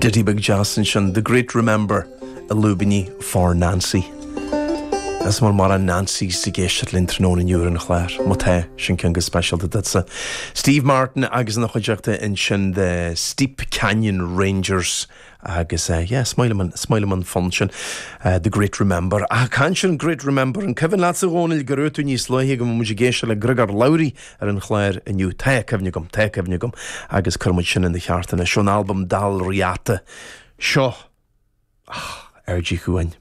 Ditty beag deas ansin, The Great Remember i lúibíní for Nancy. Is an bhfuil mórán Nancys ag éisteacht linn tráthnóna inniu ar an chlár. Má tá, sin ceann go speisialta duitse. Steve Martin agus ina chuideachta ansin The Steep Canyon Rangers agus yeah, is maith liom an, is maith liom an fonn sin, The Great Remember. Ach ag caint ar an Great Remember, an cuimhin leatsa a Dhónaill go raibh tú níos luaithe go mbeadh muid ag éisteacht le Griogair Labhruidh ar an chlár inniu? Tá cuimhne agam, tá cuimhne agam agus cuirfidh muid sin ina cheart anois ón albam Dál Riata. Seo, ah, Aird Uí Chuain.